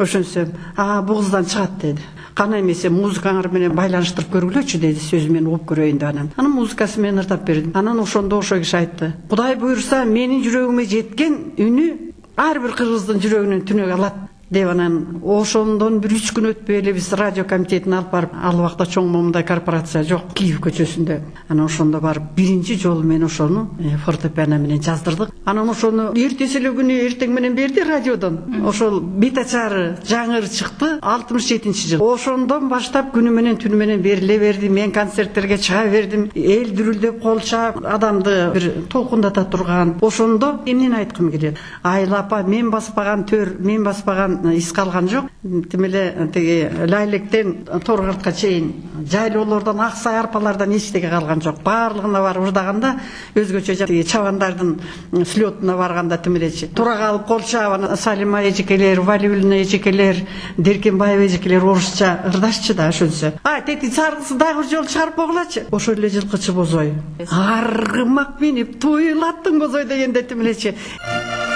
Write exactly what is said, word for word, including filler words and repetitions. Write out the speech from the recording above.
ошентсем а бул кыздан чыгат деди. Кана эмесе музыкаңар менен байланыштырып көргүлөчү деди, сөзү мен угуп көрөйүн деп. Анан анын музыкасы менен ырдап бердим. Анан ошондо ошо киши айтты: Кудай буйруса менин жүрөгүмө жеткен үнү ар бир кыргыздын жүрөгүнөн түнөк алат деп. Анан ошондон бир үч күн өтпөй эле биз радио комитетине алып барып, ал убакта чоң момундай корпорация жок, Киев көчөсүндө. Анан ошондо барып биринчи жолу мен ошону фортепиано менен жаздырдык. Анан ошону эртеси эле күнү эртең менен берди радиодон. Ошол бет ачары жаңыр чыкты алтымыш жетинчи жыл. Ошондон баштап күнү менен түнү менен бериле берди. Мен концерттерге чыга бердим. Эл дүрүлдөп кол чаап, адамды бир толкундата турган. Ошондо эмнени айткым келет? Айла апа, мен баспаган төр, мен баспаган ис калган жок. Тим эле тиги Лайлектен Торгартка чейин жайлоолордон, ак сай арпалардан эчтеге калган жок. Баардыгына барып ырдаганда өзгөчө тиги чабандардын слетуна барганда тим эле тура калып кол чаап, Салима эжекелер, Валиуллина эжекелер, Деркенбаева эжекелер орусча ырдашчы да ошончо. А тети саргысы дагы бир жолу чыгарып койгулачы. Ошол эле жылкычы бозой. Аргымак минип туйлаттың бозой дегенде тим элечи.